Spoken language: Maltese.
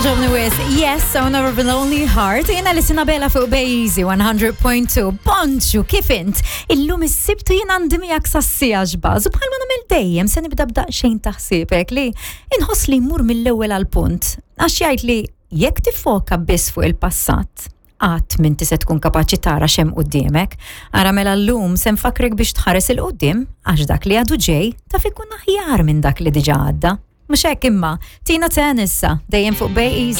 Ġobni wis, yes, Owner of a Lonely Heart, jena li sinabela fuq Bejzi 100.2. Bonġu, kif int? Illum is-sibtu jena għandi miegħek sassija ġbaż u bħalma nagħmel dejjem se nibda b'daqsxejn taħsibek li inħoss li jmur mill-ewwel għal punt. Għax jgħid li jekk tifoka biss fuq il-passat, qatt m'inti se tkun kapaċi tara x'hemm quddiemek. Ara mela llum se nfakkrek biex tħares 'il quddiem għax dak li għadu ġej taf ikun aħjar minn dak li diġà għadda. Mhux hekk imma, Tina Turner issa, dejjem fuq Bay Easy.